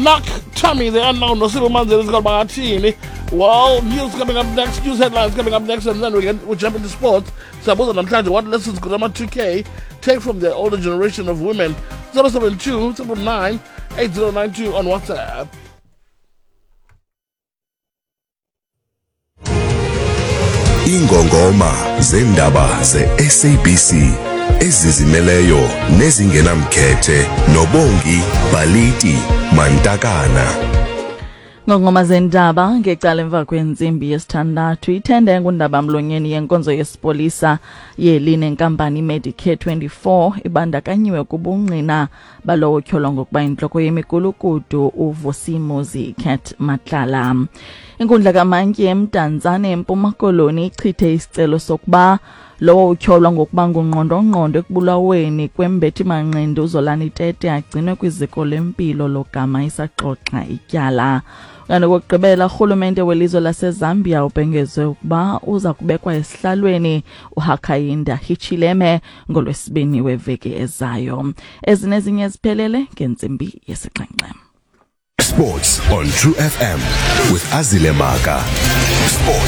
Knock Tommy the unknown noSibu Manzini zikolo bangathini. Well, news coming up next, news headlines coming up next, and then we jump into sports. Siyabuza namhlanje, what lessons could ama-2K take from the older generation of women? 072 9 8092 on WhatsApp. Ingongoma zendaba ze-SABC ezizimeleyo nezingenamkhethe noBongi Baliti Mantakana. Ngongoma zendaba ngecala emva kwentsimbi yesithandathu. Ithenda engundaba-mlonyeni yenkonzo yesipolisa yeli nenkampani iMedicare 24 ibandakanyiwe kubungqina balowo tyholwa ngokuba intloko yemigulukudu uVusimuzi Cat Matlala. Inkundla kamantyi eMdantsane eMpuma Koloni ichithe isicelo sokuba lowo utyholwa ngokuba ngungqondongqondo ekubulaweni kwembethi-manqindi uZolani Tete agcinwe kwiziko lempilo logama isaxoxa ityala. Kanti okokugqibela, urhulumente welizwe laseZambia ubhengeze ukuba uza kubekwa esihlalweni uHakainde Hichilema ngoLwesibini weveki ezayo. Ezi nezinye ziphelele ngentsimbi yesixhenxe. Sports on True FM with Azile Maka. Sports.